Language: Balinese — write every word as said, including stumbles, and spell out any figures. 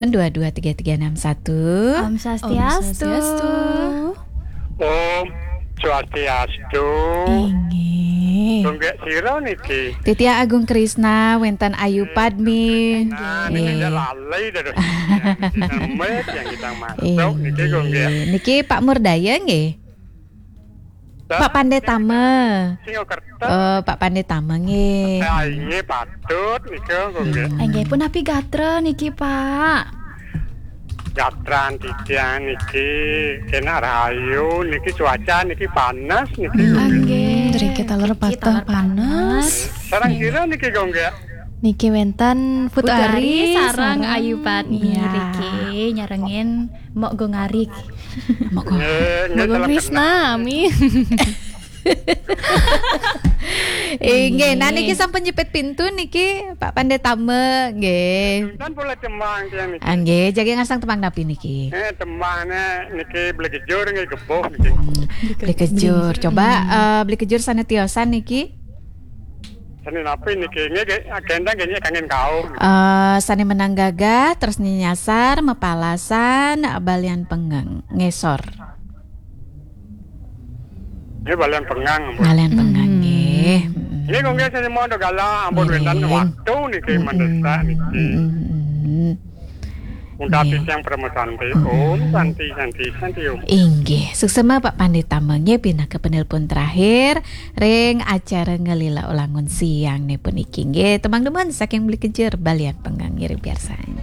dua dua tiga tiga enam satu. Om Swastiastu. Om Swastiastu. Om Swastiastu. Inggih. Gonggek sira niki? Titiang Agung Krisna, wénten Ayu Padmi. Nah, niki Nggih. Lalai dados. Nemet yang kita masuk niki gonggek. Inggih. Niki Pak Murdaya nggih. Pak Pandetama. Singaraja. Oh, Pak Pandetama nggih. Nah, inggih patut nika gonggek. Hmm. Inggih punapi gatra niki, Pak. Gatran titiang niki kena rahayu niki, cuaca niki panas niki. Hmm. Inggih. Driki taler patah panas. Sareng sira niki gonggek. Niki wénten Putu Putu Ari Ari sareng Ayu Padmi Iya. niki nyarengin Mbok Gung Ari. Monggo. Nggih, nggih, Mbok Gung telepon. Krisna, Ami. Inggih, nah niki sampun nyepit pintu niki Pak Pandetama nggih. Kan boleh tembang tiang niki. Ah, nggih, jagi ngasang tembang napi niki? Eh, tembangnya niki Beli Kejur nggih, gebuh niki. Beli Kejur. Coba eh, Beli Kejur sané tiosan niki. Seni napi niki? Nggih, nggih, agenda nggih kangen kau. Eh, sané menang gagah, terus nyasar, mapalasan, balian pengeng, ngesor. Nggih, balian pengeng, ampun. Balian pengeng nggih. Nggih, kok nggih seni mau gala, ampun Nggih. Wénten waktu niki mendesak niki. Mm-mm. Undang Nggih. titiang Parama Santi. Om Santi, Santi, Santi Om. Inggih, suksma Pak Pandetama nggih pinaka penelpon terakhir ring acara Ngelila Ulangun Siang niki puniki nggih. Tembang demen saking Beli Kejur, balian pengeng ngiring piarsani.